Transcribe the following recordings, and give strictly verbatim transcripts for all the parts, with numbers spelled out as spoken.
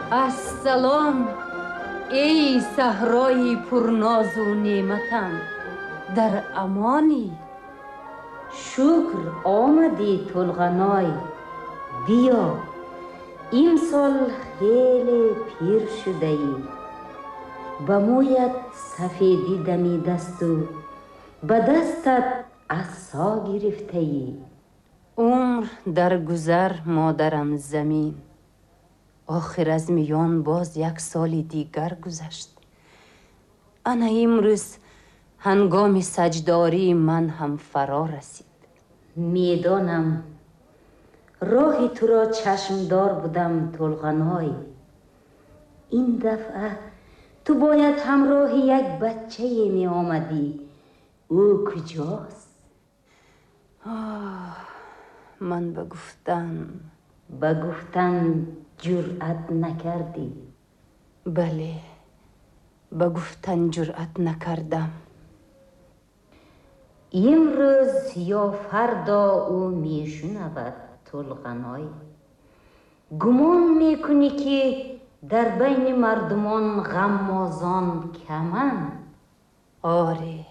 Ассалом, эй саҳрои пурнозу неъматам, дар амонӣ. Шукр омадӣ, Тулғаной. Биё, имсол хеле пир шудаӣ. Ба мӯят сафедӣ дамидасту ба дастат асо гирифтаӣ. Умр дар гузар, модарам замин. Охир аз миён боз як соли дигар гузашт. Ана имрӯз ҳангоми саҷдории ман ҳам фаро расид. Медонам, роҳи туро чашмдор будам, Тулғаной. Ин дафъа ту бояд ҳамроҳи як бачае меомадӣ. Ӯ куҷост? Оҳ, ман ба гуфтан ба гуфтан ҷуръат накардӣ. Бале, ба гуфтан ҷуръат накардам. Имрӯз ё фардо ӯ мешунавад, Тулғаной. Гумон мекунӣ, ки дар байни мардумон ғаммозон каманд? Оре,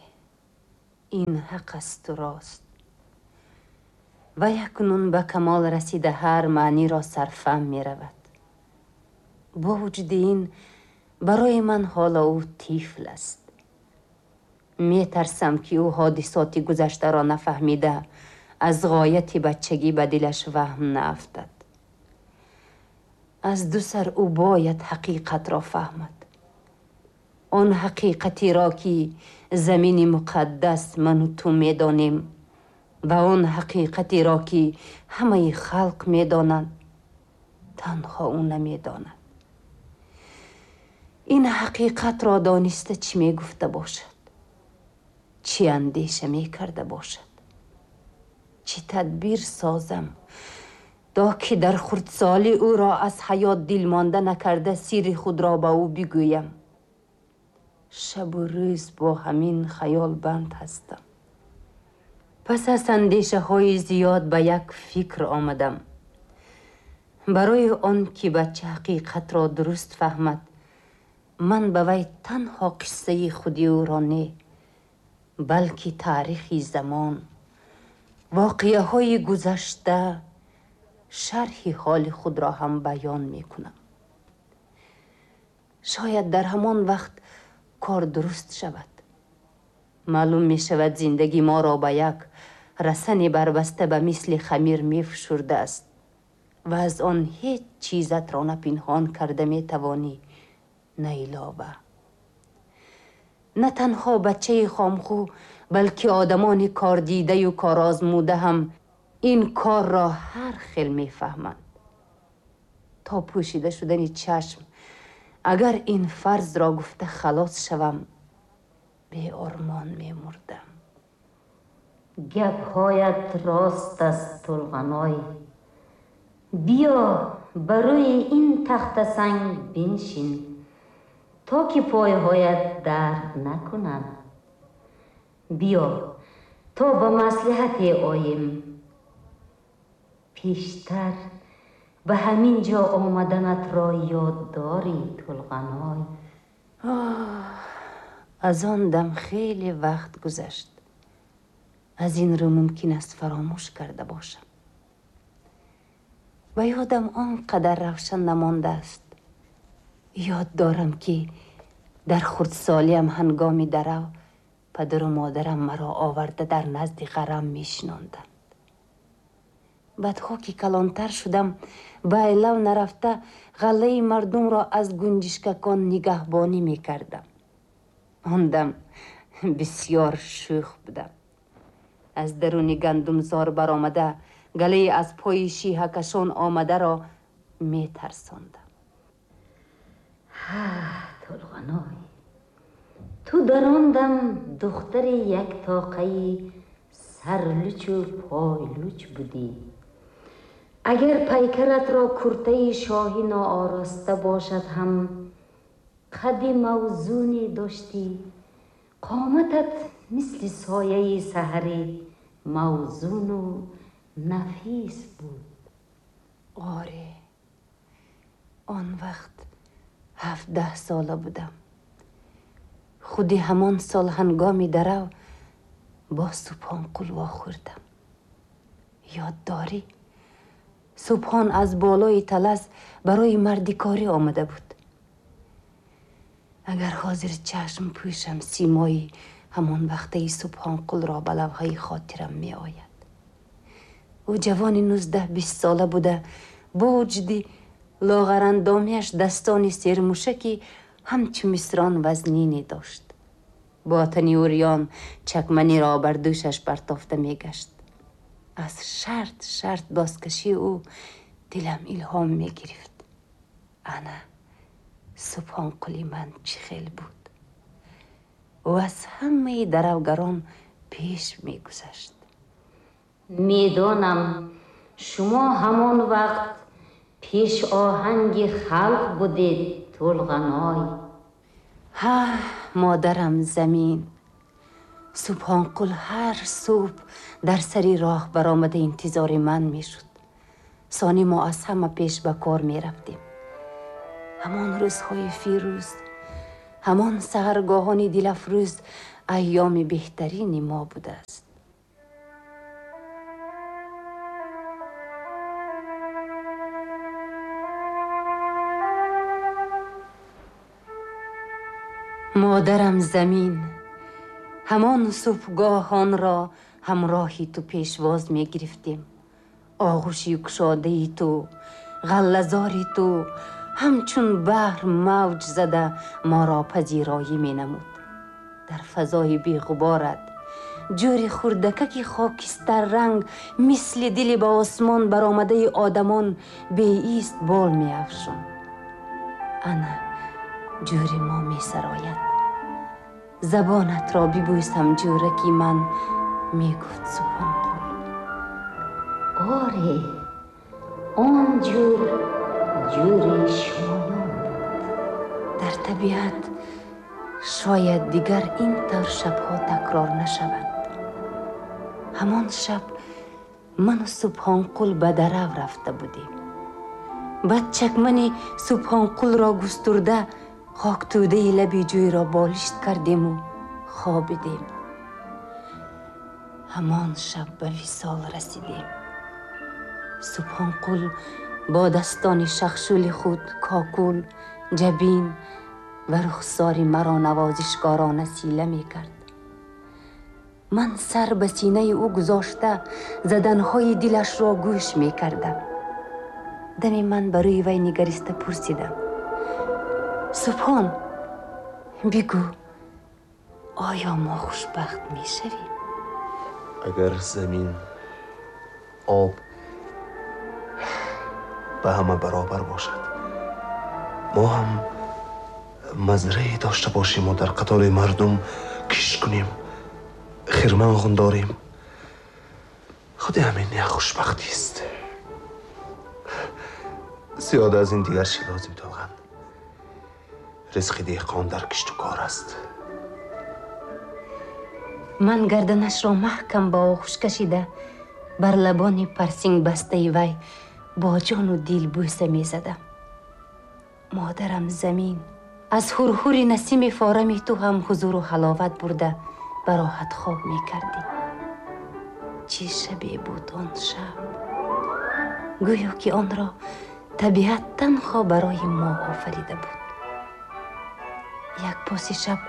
ин ҳақ асту рост. Ва якнун ба камол расида ҳар маъниро сарфаҳм меравад. Бо вуҷуди ин, барои ман ҳоло ӯ тифл аст. Метарсам, ки ӯ ҳодисоти гузаштаро нафаҳмида, аз ғояти бачагӣ ба дилаш ваҳм наафтад. Аз ду сар ӯ бояд ҳақиқатро фаҳмад, он ҳақиқатеро, ки замини муқаддас ману ту медонем, ва он ҳақиқатеро, ки ҳамаи халқ медонанд, танҳо ӯ намедонад. Ин ҳақиқатро дониста чӣ мегуфта бошад, чӣ андеша мекарда бошад, чӣ тадбир созам, то ки дар хурдсолӣ ӯро аз ҳаёт дилмонда накарда, сирри худро ба ӯ бигӯям. Шабу рӯз бо ҳамин хаёл банд ҳастам. Пас аз андешаҳои зиёд ба як фикр омадам. Барои он ки бача ҳақиқатро дуруст фаҳмад, ман ба вай танҳо қиссаи худи ӯро не, балки таърихи замон, воқеаҳои гузашта, шарҳи ҳоли худро ҳам баён мекунам. Шояд дар ҳамон вақт кор дуруст шавад. Маълум мешавад, зиндагӣ моро ба як расани барбаста ба мисли хамир мефшурдааст ва аз он ҳеҷ чизатро на пинҳон карда метавонӣ, на илова. На танҳо бачаи хомхӯ, балки одамони кордидаю корозмуда ҳам ин корро ҳар хел мефаҳманд. То пӯшида шудани чашм агар ин фарзро гуфта халос шавам, беормон мемурдам. Гапҳоят рост аст, Тулғаной. Биё, ба рӯи ин тахтасанг биншин, то ки пойҳоят дард накунанд. Биё, то ба маслиҳате оем. Пештар ба ҳамин ҷо омаданатро ёд дорӣ, Тулғаной? Аз он дам хеле вақт гузашт. Аз ин рӯ мумкин аст фаромӯш карда бошам. Ба ёдам он қадар равшан намондааст. Ёд дорам, ки дар хурдсолиам ҳангоми дарав падару модарам маро оварда дар назди ғарам мешинонданд. Баъдҳо ки калонтар шудам, ба айлав нарафта, ғаллаи мардумро аз гунҷишкакон нигаҳбонӣ мекардам. Он дам бисёр шӯх будам. Аз даруни гандумзор баромада, галаи аз пои шиҳакашон омадаро метарсондам. Ҳа, Тулғаной, ту дар он дам духтари як тоқаи сарлучу пойлуч будӣ. Агар пайкаратро куртаи шоҳӣ ноороста бошад ҳам, қадди мавзуне доштӣ, қоматат мисли сояи саҳари мавзуну нафис буд. Оре, Он вақт ҳабдаҳ сола будам. Худи ҳамон сол ҳангоми дарав бо Субҳонқул вохӯрдам. Ёд дорӣ? Субҳон аз болои талас барои мардикорӣ омада буд. Агар ҳозир чашм пӯшам, симои ҳамон вақтаи Субҳонқулро ба лавҳаи хотирам меояд. Ӯ ҷавони нуздаҳ бист сола буда, бо вуҷуди лоғарандомиаш дастони сермушаки ҳамчу мисрон вазнине дошт. Бо тани урён чакманиро бар дӯшаш партофта мегашт. Аз шарт шарт бозкашии ӯ дилам илҳом мегирифт. Ана Субҳонқули ман чӣ хел буд. Ӯ аз ҳамаи даравгарон пеш мегузашт. Медонам, шумо ҳамон вақт пеш оҳанги халқ будед, Тулғаной. Ҳа, модарам замин. Субҳонқул ҳар субҳ дар сари роҳ баромада интизори ман мешуд. Сони мо аз ҳама пеш ба кор мерафтем. Ҳамон рӯзҳои фирӯз, ҳамон саҳаргоҳони дилафрӯз айёми беҳтарини мо будааст. Модарам замин, ҳамон субҳгоҳонро ҳамроҳи ту пешвоз мегирифтем. Оғӯши кушодаи ту, ғаллазори ту ҳамчун баҳр мавҷ зада моро пазироӣ менамуд. Дар фазои беғуборат ҷӯри хурдакаки хокистарранг мисли дили ба осмон баромадаи одамон беист бол меафшонд. Ана ҷӯри мо месарояд. Забонатро бибӯсам, ҷӯраки ман, мегуфт Субҳонқул. Оре, он ҷӯр ҷӯри шумоён буд. Дар табиат шояд дигар ин тавр шабҳо такрор нашаванд. Ҳамон шаб ману Субҳонқул ба дарав рафта будем. Баъд чакмани Субҳонқулро густурда хоктӯдаи лаби ҷӯйро болишт кардему хобидем. Ҳамон шаб ба висол расидем. Субҳонқул бо дастони шахшули худ кокул, ҷабин ва рухсори маро навозишкорона сила мекард. Ман сар ба синаи ӯ гузошта заданҳои дилашро гӯш мекардам. Дами ман ба рӯи вай нигариста пурсидам: Субҳон, бигӯ, оё мо хушбахт мешавем? Агар замин, об ба ҳама баробар бошад, мо ҳам мазрае дошта бошему дар қатори мардум кишт кунем, хирман ғундорем, худи ҳамин як хушбахтист. Зиёда аз ин дигар чӣ лозим, Тулған? Ризқи деҳқон дар кишту кор аст. Ман гарданашро маҳкам ба оғӯш кашида бар лабони парсингбастаи вай бо ҷону дил бӯса мезадам. Модарам замин, аз ҳурҳури насими форами ту ҳам ҳузуру ҳаловат бурда ба роҳат хоб мекардӣ. Чӣ шабе буд он шаб! Гӯё ки онро табиат танҳо барои мо офарида буд. Як поси шаб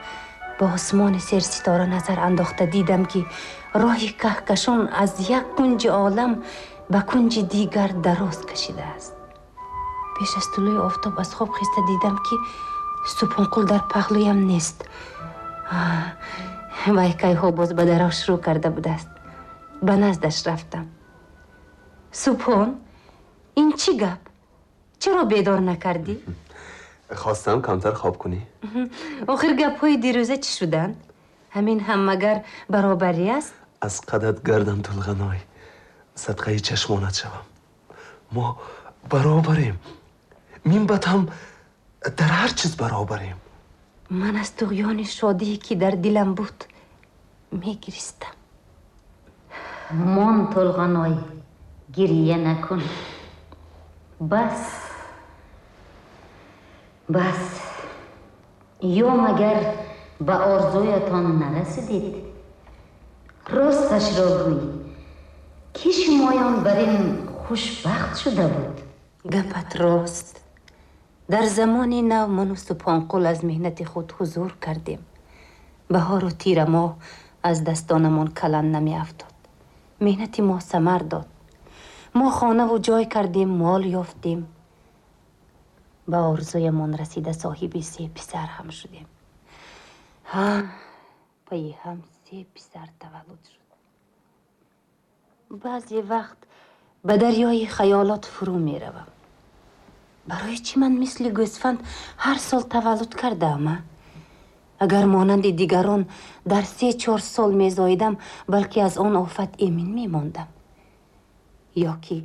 ба осмони серситора назар андохта дидам, ки роҳи каҳкашон аз як кунҷи олам ба кунҷи дигар дароз кашидааст. Пеш аз тулӯи офтоб аз хоб хеста дидам, ки Субҳонқул дар паҳлӯям нест. Вай кайҳо боз ба дарав шурӯъ карда будааст. Ба наздаш рафтам. Субҳон, ин чӣ гап? Чаро бедор накардӣ? Хостам камтар хоб кунӣ. Охир гапҳои дирӯза чӣ шуданд? Ҳамин ҳам магар баробарӣ аст? Аз қадат гардам, Тулғаной, садқаи чашмонат шавам. Мо баробарем. Минбаъд ҳам дар ҳар чиз баробарем. Ман аз туғёни шодие ки дар дилам буд мегиристам. Мон, Тулғаной, гирия накун. Бас, Бас, ё магар ба орзуятон нарасидед? Росташро гӯй, ки шумоён бар ин хушбахт шуда буд? Гапат рост. Дар замони нав ману Субҳонқул аз меҳнати худ ҳузур кардем. Баҳору тира моҳ аз дастонамон калан намеафтод. Меҳнати мо самар дод. Мо хонаву ҷой кардем, мол ёфтем. Ба орзуямон расида соҳиби се писар ҳам шудем. Ҳа, пайи ҳам се писар таваллуд шуд. Баъзе вақт ба дарёи хаёлот фурӯ меравам. Барои чӣ ман мисли гӯсфанд ҳар сол таваллуд кардаам? Агар монанди дигарон дар се чор сол мезоидам, балки аз он офат эмин мемондам. Ё ки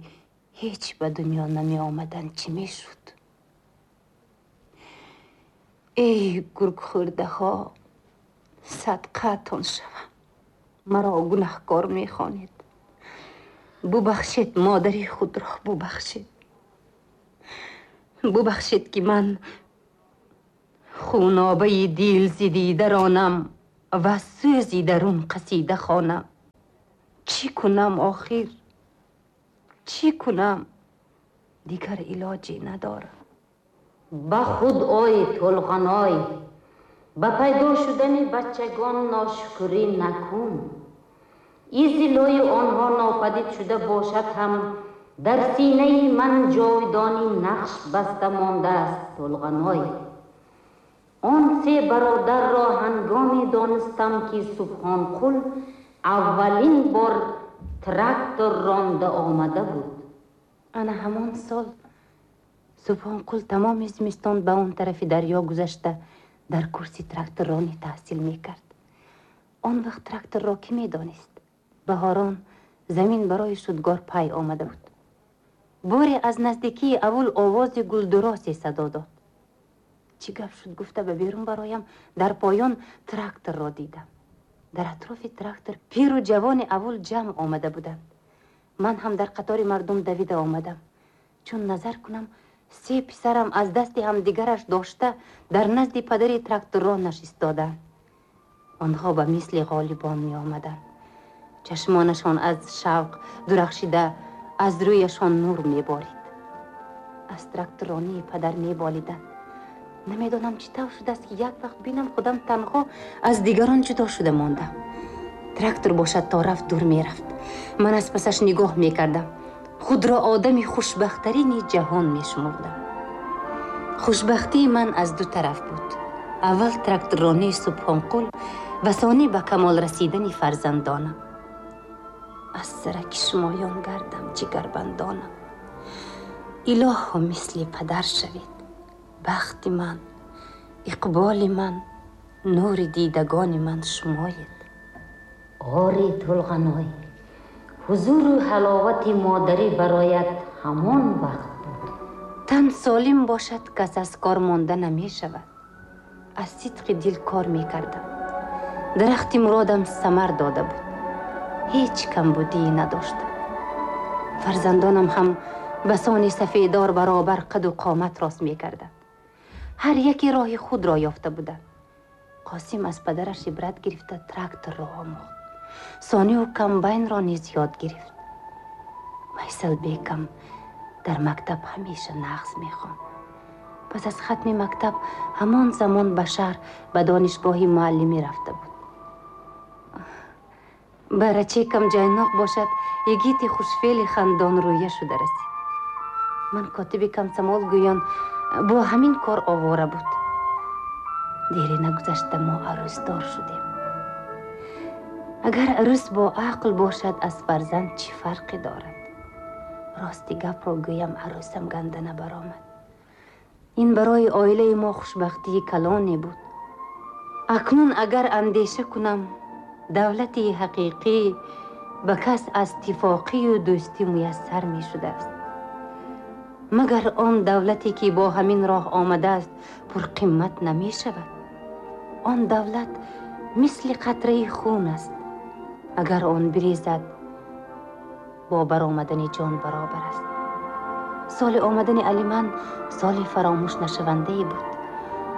ҳеҷ ба дунё намеомадан чӣ мешуд? Эй гургхӯрдаҳо, садқаатон шавам, маро гунаҳкор мехонед. Бубахшед модари худро, бубахшед. Бубахшед ки ман хунобаи дил зидида ронам ва сӯзи дарун қасида хонам. Чӣ кунам охир? Чӣ кунам? Дигар илоҷе надорам. Ба худ ой, Тулғаной, ба пайдо шудани бачагон ношукрӣ накун. Изилои онҳо нопадид шуда бошад ҳам дар синаи ман ҷовидонӣ нақш баста мондааст, Тулғаной. Он се бародарро ҳангоме донистам, ки Субҳонқул аввалин бор трактор ронда омада буд. Ана ҳамон сол Субҳонқул тамоми зимистон ба он тарафи дарё гузашта дар курси тракторронӣ таҳсил мекард. Он вақт тракторро кӣ медонист? Баҳорон замин барои шудгор пай омада буд. Боре аз наздикии аввул овози гулдуросе садо дод. Чӣ гап шуд гуфта ба берун бароям, дар поён тракторро дидам. Дар атрофи трактор пиру ҷавони аввул ҷамъ омада буданд. Ман ҳам дар қатори мардум давида омадам. Чун назар кунам, се писарам аз дасти ҳамдигараш дошта дар назди падари тракторро нишистоданд. Онҳо ба мисли ғолибон меомаданд. Чашмонашон аз шавқ дурахшида аз рӯяшон нур меборид. Аз тракторронии падар меболиданд. Намедонам чӣ тавр шудааст, ки як вақт бинам худам танҳо аз дигарон ҷудо шуда мондам. Трактор бошад то рафт дур мерафт. Ман аз пасаш нигоҳ мекардам. Худро одами хушбахттарини ҷаҳон мешумурдам. Хушбахтии ман аз ду тараф буд. Аввал тракторронии Субҳонқул ва сонӣ ба камол расидани фарзандонам. Аз сараки шумоён гардам ҷигарбандонам. Илоҳо мисли падар шавед. Бахти ман, иқболи ман, нури дидагони ман шумоед. Ори Тулғаной, ҳузуру ҳаловати модарӣ бароят ҳамон вақт буд. Тан солим бошад, кас аз кор монда намешавад. Аз сидқи дил кор мекардам. Дарахти муродам самар дода буд. Ҳеҷ камбудие надоштам. Фарзандонам ҳам ба сони сафедор баробар қаду қомат рост мекарданд. Ҳар яке роҳи худро ёфта буданд. Қосим аз падараш ибрат гирифта тракторро омӯхт. Сонию комбайнро низ ёд гирифт. Майсалбекам дар мактаб ҳамеша нағз мехонд. Пас аз хатми мактаб ҳамон замон ба шаҳр ба донишгоҳи муаллимӣ рафта буд. Барачекам ҷайноқ бошад, йигити хушфеъли хандонрӯя шуда расид. Ман котиби комсомол гӯён бо ҳамин кор овора буд. Дере нагузашта мо арӯсдор шудем. Агар арӯс бо ақл бошад, аз фарзанд чӣ фарқе дорад? Рости гапро гӯям, арӯсам ганда набаромад. Ин барои оилаи мо хушбахтии калоне буд. Акнун агар андеша кунам, давлати ҳақиқӣ ба кас аз иттифоқию дӯстӣ муяссар мешудааст. Магар он давлате ки бо ҳамин роҳ омадааст пурқимат намешавад? Он давлат мисли қатраи хун аст. Агар он бирезад, бо баромадани ҷон баробар аст. Соли омадани Алиман соли фаромӯш нашавандае буд.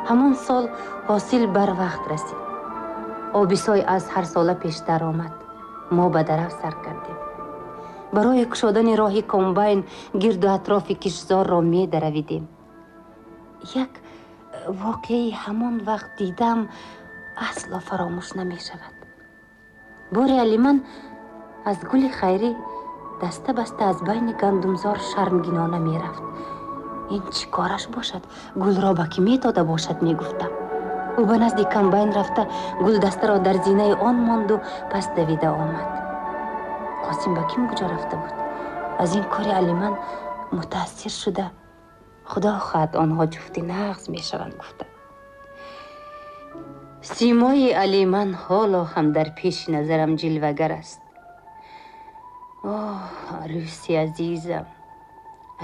Ҳамон сол ҳосил барвақт расид. Оби сой аз ҳарсола пештар омад. Мо ба дарав сар кардем. Барои кушодани роҳи комбайн гирду атрофи киштзорро медаравидем. Як воқеаи ҳамон вақт дидам, асло фаромӯш намешавад. Боре Алиман аз гули хайрӣ даста баста аз байни гандумзор шармгинона мерафт. Ин чӣ кораш бошад, гулро ба кӣ медода бошад, мегуфтам. Ӯ ба назди комбайн рафта, гулдастаро дар зинаи он монду пас давида омад. Қосим ба ким куҷо рафта буд? Аз ин кори Алиман мутаассир шуда, худо хоҳад, онҳо ҷуфти нағз мешаванд, гуфта. Симои Алиман ҳоло ҳам дар пеши назарам ҷилвагар аст. Оҳ, арӯси азизам,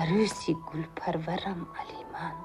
арӯси гулпарварам Алиман.